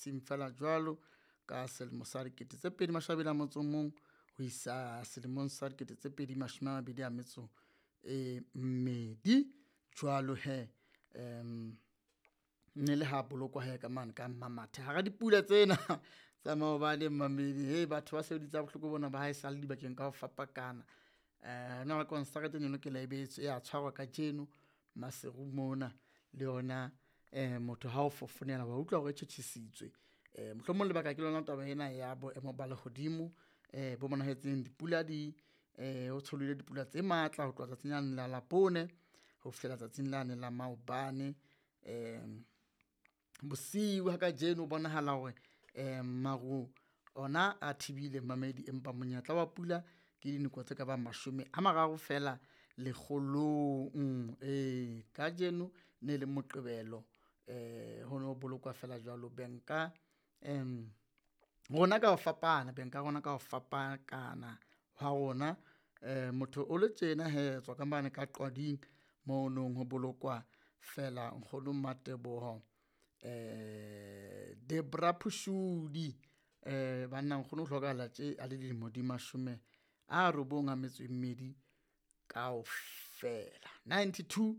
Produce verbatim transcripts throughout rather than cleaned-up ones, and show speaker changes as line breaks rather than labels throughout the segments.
Seng fela jwalo ka selemo sa dikete tse pedi mashome a mabedi a motso o mong ho isa selemong sa dikete tse pedi mashome a mabedi a metso e mmedi. Jwalo hee um ne le ha bolokwa he ka mane ka Mmamathe hara dipula tsena tsa maobane mmamedi. Hei, batho ba sebeditse ha bohloko bona ba ha e sale dibakeng ka ho fapakana. Eh na le konsarete e ne lokela e be ya tshwarwa kajeno Maseru mona le yona eh motho ha o fofonela wa utlwa hore e tjhetjhesitswe. Eh mohlomong lebaka ke lona taba ena ya boemo ba lehodimo eh bo bonahetseng dipula di eh ho tsholohile dipula tse matla ho tloha tsatsing lane la Labone ho fihlela tsatsing lane la maobane. Um bosiu ha kajeno ho bonahala hore eh maru ona a thibile mmamedi, empa monyetla wa pula ke dinako tse ka bang mashome a mararo fela lekgolong. Ee, kajeno ne le Moqebelo eh ho no bolokwa fela jwalo benka um rona ka ho fapana beng ka rona ka ho fapakana ha rona. Um motho o le tjena hee tswa ka mane ka Qwading mono ho bolokwa fela nkgono Mmateboho eh Debra Phosudi. Eh banna nkgono o hlokahala tje a le dilemo di mashome a robong a metso e mmedi kaofela, ninety-two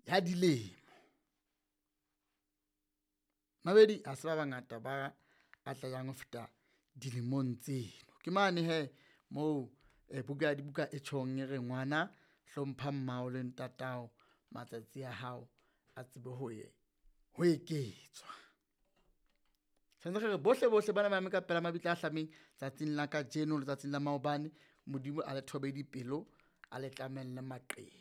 ya dilemo. Mabedi ha se ba bangata ba atlehang ho feta dilemong tseno. Ke mane hee moo buka ya dibuka e tjhong e re ngwana hlompha mmao le ntatao matsatsi a hao a tsebe ho ho eketswa. Tshwantse re re bohle bohle bana ba eme ka pela mabitla a hlameng tsatsing la kajeno letsatsing la maobane. Modimo a le thobe dipelo, a le tlamelle maqeba.